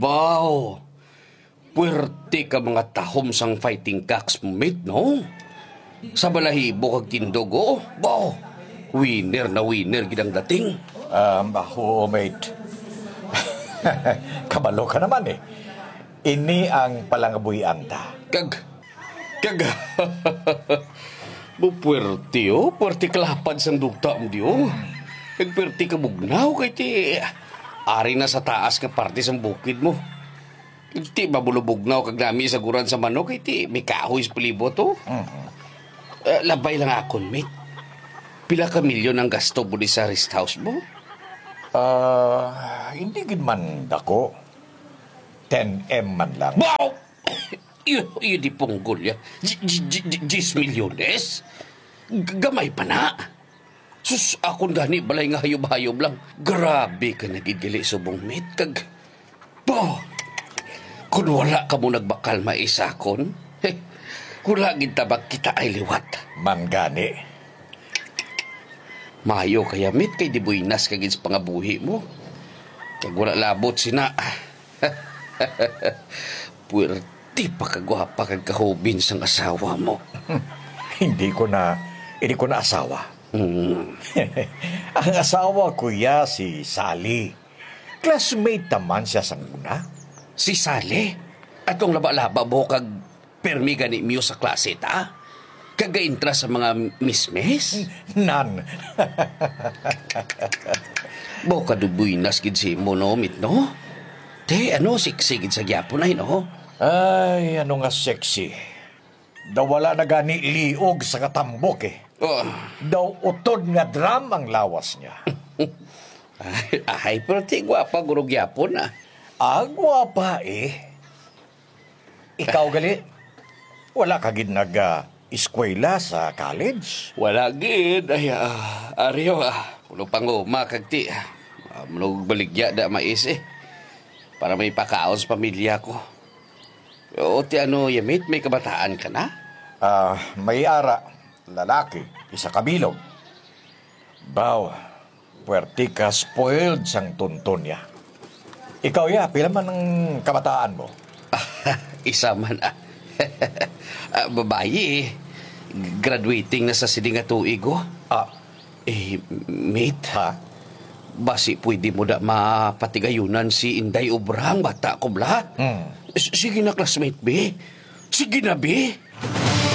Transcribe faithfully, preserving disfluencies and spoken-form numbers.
Baw, puwerte ka mga tahom sang fighting cocks mo, mate, no? Sa balahibo kag tindog, oh. Baw, winner na winner gid ang dating. Um, oo, mate. Kabalo ka naman, eh. Ini ang palangabuhian ta. Kag, kag, mo puwerte, oh. Puwerte kalapad sang duta mo, di, oh. Kag puwerte ka bugnaw, kay ti, ari na sa taas nga parte sang bukid mo. Kag ti, mabulubugnaw kag nami sa guran sa manok, kay ti, may kahoy sa palibot, oh. Mhm. Eh, labay lang akon, mate. Pila ka milyon ang gasto mo di sa rest house mo? Ah, hindi gid man dako. Ten M man lang. Wow! Iyo, iyo di punggol ya. Di-, di-, di-, di-, diyes milyones? G-, gamay pa na. Sus, akon gani balay nga hayob-hayob lang. Grabe ka na gid gali subong, mate. Kag, bo, kung wala ka mo nagbakal maisakon, he, wala gid ta magkita ay liwat. Man gani. Mayo kaya, mate, kay di buinas ka gid sa pangabuhi mo. Kag wala labot sina. Puwerte pa kagwapa kag kahubin sang asawa mo. Hindi ko na, hindi ko na asawa. Mm. Ang asawa ko ya si Sally. Classmate naman siya sang una. Si Sally? Atong laba-laba mo kag permi gani miyo sa klase ta? Kag gaintra sa mga mismis? Nan. Bo ka dubuinas gid si mo, no, mit, no? Te, ano, sexy gid sa gyapon ay, no? Ay, ano nga sexy? Daw wala na gani liog sa katambok, eh. Oh. Daw utod nga drum ang lawas niya. Ay, ay, pero ti gwapa guro gyapon, ah. Ah, gwapa, eh. Ikaw gali, wala ka gid nag, ah, eskwela sa college? Wala gid. Ay, ah, ari, oh, ah, puno panguma kag ti, ah, puno baligya da mais, eh. Para may pakaon sa pamilya ko. O, ti ano, Yamit, may kabataan ka na? Ah, may ara, lalaki, isa ka bilog. Baw, puwerte ka spoiled sang tunton niya. Ikaw, ya, pila man ang kabataan mo? Isa man, ah. Ah, babayi, eh. Graduating na sa sini nga tuig, oh. Ah. Eh, mate. Ha? Basi pwede mo da mapatigayunan si Inday Obrang, bata ko, bla? Hmm. S-, sige na, classmate, be. Sige na, be.